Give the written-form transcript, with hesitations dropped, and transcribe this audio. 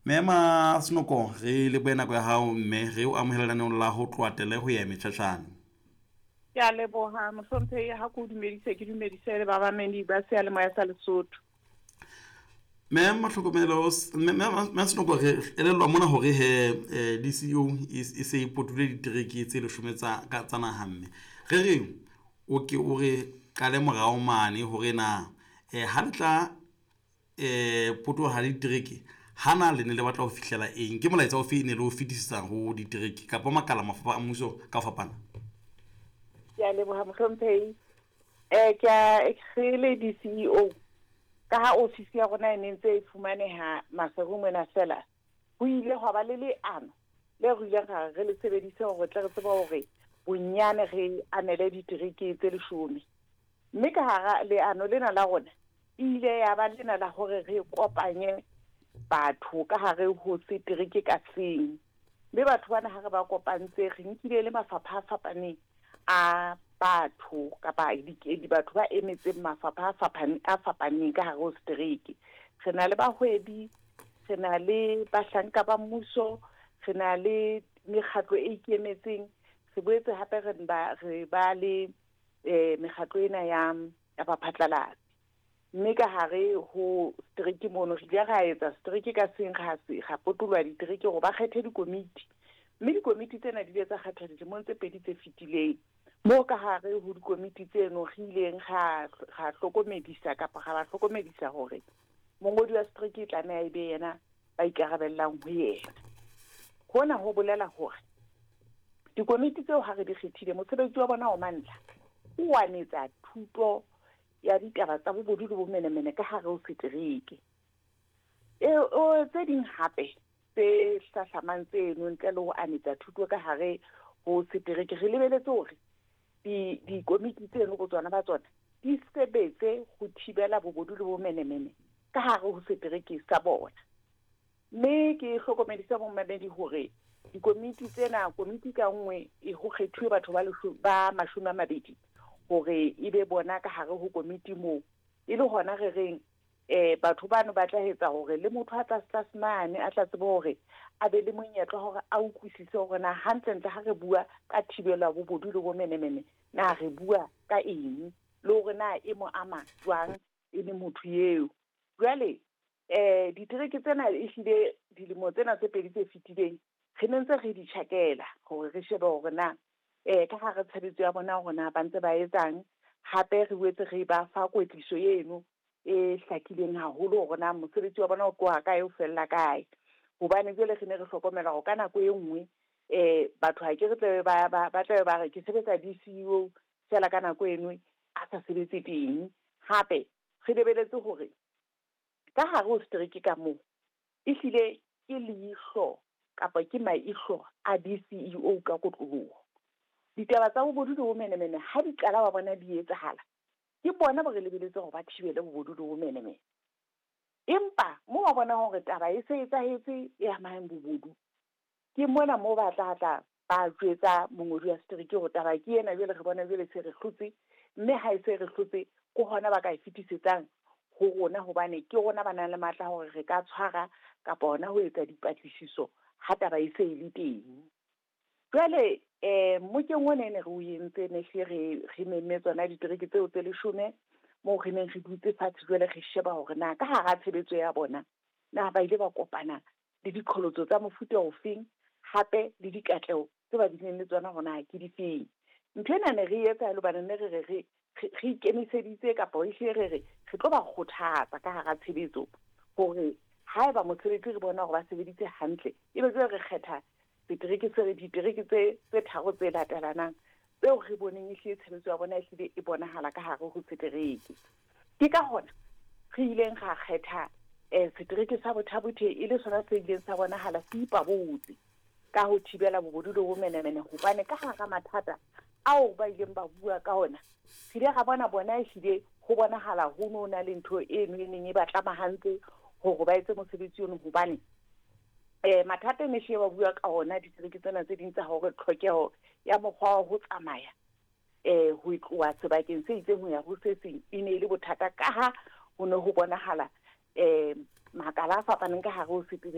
Mema Senoko, re lebohe nako ya hao mme re o amohele lenaneong la ho tloha tele ho ya metjhatjhane. Ke a leboha mohlomphehi ha ke o dumedise ke dumedise le babamedi ba seyalemoya sa Lesotho. Mme Mahlokomelo, mme Senoko, re elellwa mona hore he DCEO e se e potile ditereke tse leshome tsa tsa naha mme re reng o ke o re qale morao mane hore na ha le tla potoloha le ditereke hana le ne le batla ho fihlela eng, ke molaetsa ofe ne le o fetisetsa ho ditereke kapa makala mafapha a mmuso ka ho fapana? Ke a leboha mohlomphehi. Ke a re le DCEO ka ha ofisi ya rona e ne ntse e fumaneha Maseru mona fela, ho ile hwa ba le leano le re ileng ra re le sebedise hore tle re tsebe hore bonyane re anele ditereke tse leshome. Mme ka hara leano lena la rona e ile ya ba lena la hore re kopanye batho ka hare ho setereke ka seng. Mme batho bana ha re ba kopantse re nkile le mafapha a fapaneng a batho kapa batho ba emetseng mafapha a fapaneng ka hare ho setereke. Re na le bahwebi, re na le bahlanka ba mmuso, re na le mekgatlo e ikemetseng, re boetse hape re ba le mekgatlo ena ya baphatlalatsi. Mme ka hare ho setereke mono re ile ra etsa setereke ka seng ra potoloha ditereke hore ba kgethe dikomiti. Mme dikomiti tsena di ile tsa kgethwa dilemong tse pedi tse fetileng. Moo ka hare ho dikomiti tseno re ileng ra hlokomedisa kapa ra ba hlokomedisa hore mongodi wa setereke e tlameha e be yena ba ikarabellang ho yena. Hona ho bolela hore dikomiti tseo ha re di kgethile mosebetsi wa bona o mantlha o anetsa thuto ya ditaba tsa bobodu le bomenemene ka hare ho setereke. Tse ding hape tse hlahlamang tseno ntle le ho anetsa thuto ka hare ho setereke, re lebeletse hore dikomiti tseno bo tsona ba tsona di sebetse ho thibela bobodu le bomenemene ka hare ho setereke sa bona. Mme ke hlokomedisa momamedi hore dikomiti tsena, komiti ka nngwe e ho kgethuwe batho ba 20 hore e be bona ka hare ho komiti moo. E le hona re reng batho bano ba tla etsa hore le motho a tlase mane a tla tsebe hore a be le monyetla hore a utlwisise hore na hantlentle ha re bua ka thibelo ya bobodu le bomenemene na re bua ka eng, le hore na e mo ama jwang e le motho eo. Jwale ditereke tsena ehlile dilemo tsena tse pedi tse fetileng re ne ntse re di tjhakela hore re shebe hore na ka hare tshebetso ya bona hore na ba ntse ba etsang. Hape re boetse re ba fa kwetliso eno e hlakileng haholo hore na mosebetsi wa bona o tloha kae o fella kae. Hobane jwale re ne re hlokomela hore ka nako e nngwe batho ha ke re tlabe ba tlabe ba re ke sebetsa DCEO fela ka nako eno a sa sebetse teng. Hape re lebeletse hore ka hare ho setereke ka moo ehlile ke leihlo kapa ke maihlo a DCEO ka kotloloho. Ditaba tsa bobodu le bomenemene ha di qala ba bona di etsahala, ke bona ba re lebeletse hore ba thibele bobodu le bomenemene. Empa moo ba bona hore taba e se etsahetse e amang bobodu, ke mona moo ba tla tla ba jwetsa mongodi wa setereke hore taba ke ena, jwale re bona jwale se re hlotse, mme ha e se re hlotse ke hona ba ka e fetisetsang ho rona, hobane ke rona ba nang le matla hore re ka tshwara kapa hona ho etsa dipatlisiso ha taba e se e le teng. Jwale mmokeng ona ne re o entse ne hle re memme tsona ditereke tseo tse leshome moo re neng re dutse fatshe jwale re sheba hore na ka hara tshebetso ya bona na ba ile ba kopana le diqholotso tsa mofuta ofeng, hape le dikatleho tse ba bileng le tsona hore na ke difeng. Ntho ena ne re etsa hobane ne re re ikemiseditse kapa ehlile re re re tlo ba kgothatsa ka hara tshebetso hore haeba mosebetsi re bona hore ba sebeditse hantle, ebe jwale re kgetha setereke se ditereke tse tharo tse latelanang tseo re boneng ehlile tshebetso ya bona ehlile e bonahala ka hare ho setereke. Ke ka hona re ileng ra kgetha setereke sa Botha-Bothe e le sona se ileng sa bonahala se ipabotse ka ho thibela bobodu le bomenemene, hobane ka hara mathata ao ba ileng ba bua ka ona re ile ra bona bona ehlile ho bonahala ho no na le ntho eno e neng e ba tlamahantse hore ba etse mosebetsi ono, hobane mathata ne hlile ba bua ka ona ditereke tsena tse ding tsa hore tlhokeho ya mokgwa wa ho tsamaya ho tloha sebakeng se itseng ho ya ho se seng e ne e le bothata, ka ha ho ne ho bonahala makala a fapaneng ka hare ho setereke.